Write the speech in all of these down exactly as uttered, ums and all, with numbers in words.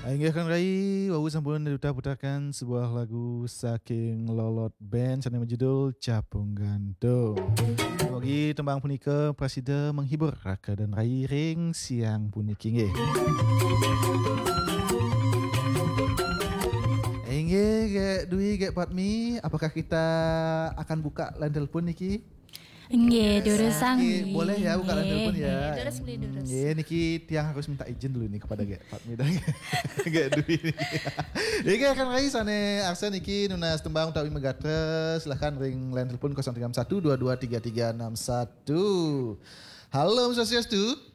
Inggih, Kang Rai, wau sampun Duta putarkan sebuah lagu saking Lolot Band sane majudul Capung Gantung. Mugi tembang punika prasida menghibur Raka dan Rai ring siang puniki, nggih. Inggih, Gek Dwi, Gek Patmi, apakah kita akan buka line telepon niki? Nggih, durusang. Nggih, boleh ya buka line telepon ya. Nggih, durus, boleh durus. Nggih, niki tiang harus minta izin dulu nih kepada Gek Patmi dan Gek Dwi niki. Nggih, Kang Rai, sane arsa niki nunas tembang utawi magatra, silahkan ring line telepon kosong tiga enam satu dua dua tiga tiga enam satu. Halo, Om Swastiastu.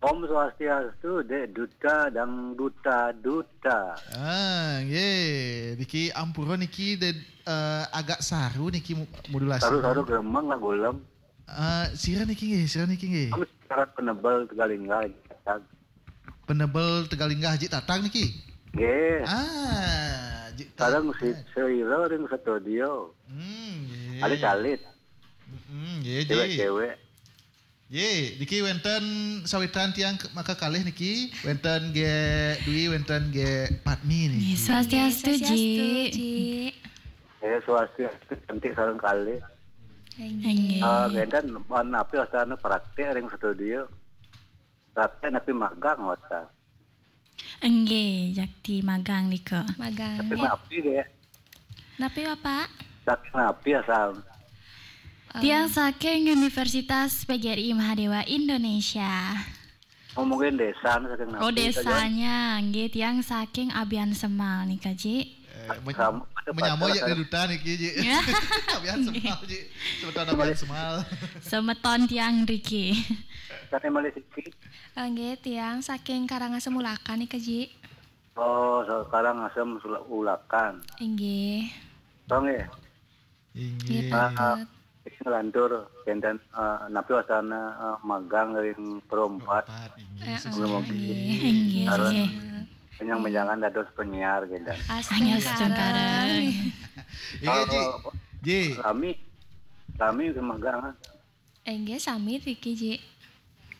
Om Swastiastu, Dek Duta dan Duta Duta. Ah, nggih. Niki ampura niki de, eh, agak saru niki mu-, modulasi. Saru-saru gremeng lah gulem. Ah, sira niki nggih, sira niki nggih. Kami sekarang penebel Tegalinga, Jik Tatang. Penebel Tegalinga, Jik Tatang niki? Nggih. Ah, Jik Tatang. Sareng si Seira ring studio. Hmm, nggih. Alit-alit. Mm-mm, nggih, Jik. Cewek-cewek. Nggih, niki wenten sawitan tiang ke-, maka kalih niki, wenten Gek Dwi, wenten Gek Patmi niki. Nggih, swastiastu, Ji. Nggih, swastiastu, Ji. Eh, swastiastu, cantik sareng kalih. Nggih. Ah, ngenten, napi wastane praktek ring studio? Praktek napi magang wasta? Enggih, jakti magang nika. Magang. Tapi napi, Dek? Napi, Bapak? Saking napi asal? Em, tiang saking Universitas P G R I Mahadewa Indonesia. Oh, mungkin desa, saking napi. Oh, saja. Desanya, nggih, tiang saking Abian Semal nika, Ji. Eh, men-, sama, ada menyamai pacar, ya, saya. Dari duta niki, Ji. Ya. Abian Semal, Ji. Semeton Abian Semal. Semeton tiang riki. Saking malih siki? Eh, nggih, tiang saking Karangasem Ulakan nika, Ji. Oh, sekarang asem sula-, ulakan. Inggih. Oh, nggih. Inggih. Nggih, ah, ah, Pak. Niki nglantur kenten, eh, napi wastane, eh, magang ring Pro empat. Pro empat, inggih. Eh, eh, sebelum inggih, inggih, sareng inggih. Penjang-penjangan dados penyiar kenten. Astungkara. Astungkara. Inggih, Ji. Oh, Ji. Lami. Lami ke magang. Inggih, sami riki, Ji.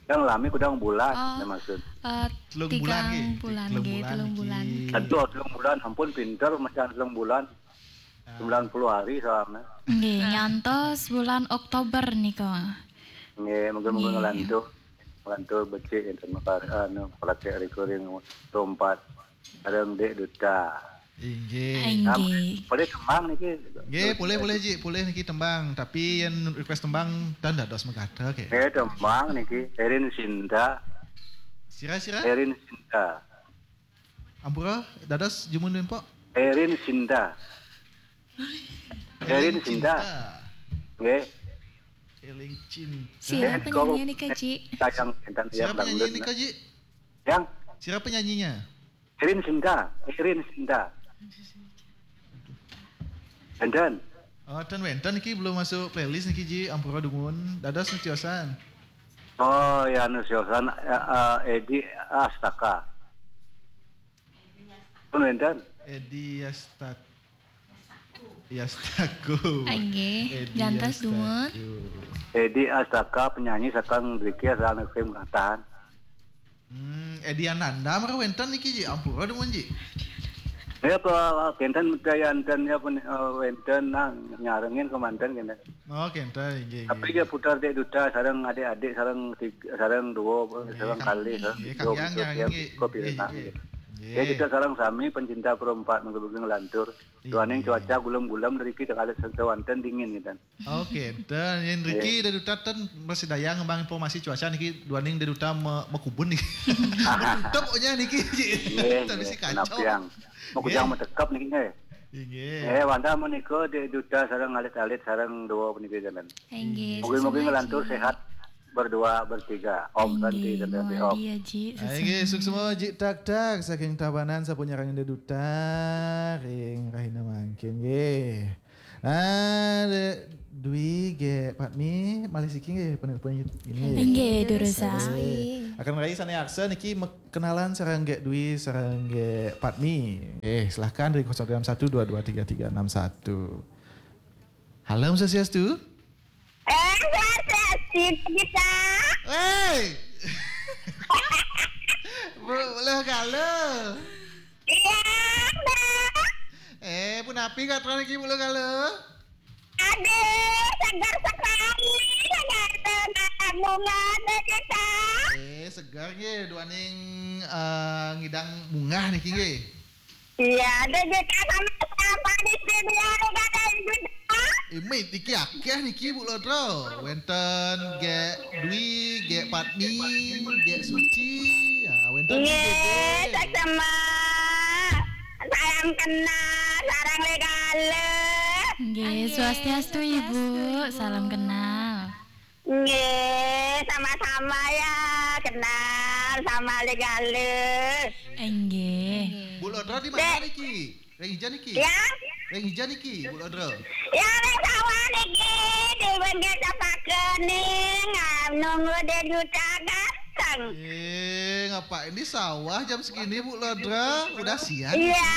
Yang lami kudang bulan, oh, maksud. Eh, telung bulan, tigang nggih. Bulan, telung nggih, bulan telung niki. Bulan. Aduh, telung bulan, ampun pinter macam telung bulan. Ah. Sembilan puluh hari soalnya. Nggih, ah, nyantos bulan Oktober nika. Nggih, mungkin-mungkin nggih. Ngelantur. Ngelantur becik enten, anu, praktek recording Pro empat. Sareng Dek Duta. Inggih. Inggih. Am-, boleh tembang niki? Nggih, boleh, boleh, Ji. Boleh niki tembang. Tapi yen request tembang, tan dados magatra, ke? Nggih, tembang niki. Erin Sinta. Sira, sira? Erin Sinta. Ampura, dados jumun nempok? Erin Sinta. Erin Sinta. Erin Sinta. Nggih. Eling Cinta. Sira penyanyi nika, Ji? Sayang, enten. Sira penyanyi nika, Ji? Yang? Sira penyanyinya? Erin Sinta, Erin Sinta. Enten. Oh, ten wenten niki belum masuk playlist niki, Ji, ampura dumun. Dados nu tiosan. Oh, ya, nu tiosan, eh, eh, Edi Astaka. Pun wenten. Edi Astak-, Yastaku. Inggih, Edi jantos Yastaku. Dumun. Edi Astaka, penyanyi saking mriki, asal saking Katahan. Hmm, Edi Ananda mara wenten niki, Ji? Ampura dumun, Ji. Ya, Pak, kenten mutaya enten ya pun, eh, wenten nang nyarengin kemanten kenten. Oh, kenten, inggih, inggih. Tapi dia putar Dek Duta sareng adik-adik, sareng tiga, sareng dua, nggih, sareng kang-, kalih, sareng nggih, tiga, kang yang gitu, nyarengin, tiap nggih, kopi nggih, renang nggih, gitu. Nggih. Ya, kita sareng sami pencinta Pro empat mungkin ngelantur. Duaning, iya, cuaca gulem-gulem, niki tengah sewanten dingin gitu. Oke, ten yen riki, iya, dari Duta ten masih daya ngembang informasi cuaca niki, duaning dari Duta me-, mekubun niki. Menutup pokoknya niki, Ji. Nggih, tapi nggih, si kacau. Kenapa yang mau kujang, nggih, metekep niki, nggih? Inggih. Eh, wantah menika Dek Duta sareng alit-alit sareng dua puniki, ten. Inggih, mungkin-mungkin sesampun, ngelantur Ji. Sehat berdua, bertiga. Om Santi, inggih, Santi, Om. Mugi, Ji, ah, inggih, sesampun. Suksma, Ji Tak Tak saking Tabanan, sampun nyarengin Dek Duta ring rahina mangkin, nggih. Nah, Dek Dwi, Gek Patmi, malih siki nggih, penelpon ini. Inggih, inggih, durus, durus, sami. Akan rai sane arsa niki me-, kenalan sareng Gek Dwi, sareng Gek Patmi. Eh, silahkan dari kosong tiga enam satu dua dua tiga tiga enam satu. Halo, Om Swastiastu. Eh, Swastiastu, kita. Hei. Boleh kalau. Napi gatra niki, Bu Lodra? Aduh, segar sekali. Segar, bunga, Dek Juta. Eh, segar nggih duaning eh, ngidang bungah niki nggih. Iya, Dek Juta sama siapa di studio, Dek Juta? Imit niki akeh niki, Bu Lodra. Wenten Gek Dwi, Gek Padmi, Gek Suci. Ya, wenten Nggih, Gek Dede. Saksema. Salam kenal sareng Legalih. Nggih, swastiastu Ibu. Salam kenal. Nggih, sama-sama ya. Kenal sama Legalih. Enggih. Bu Lodra di mana niki? Ring ijan niki? Ya? Ring ijan niki, Bu Lodra. Ya, ring sawah niki, dipun kecapaken ning, ah, nunggu Dek Juta datang. Eh, ngapain di sawah jam segini, Bu Lodra? Udah siang. Iya.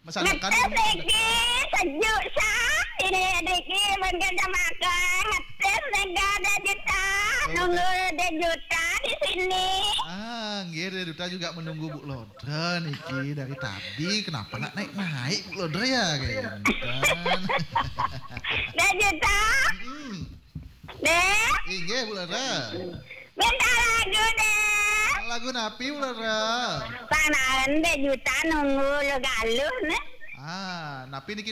Masakan. Ngetes niki, sejuk sah. Ini niki pun kecapaken. Ngetes niki Dek Juta. Nunggu Dek Juta di sini. Ah, nggih, Dek Juta juga menunggu Bu Lodra niki dari tadi. Kenapa nggak naik-naik, Bu Lodra, ya? Kayak gitu. Dek Juta. Hmm. Dek, Inggih, Bu Lodra. Minta lagu, Dek. Lagu napi, Bu Lodra? Panaen Dek Juta nunggu Legalih, nih. Ah, napi niki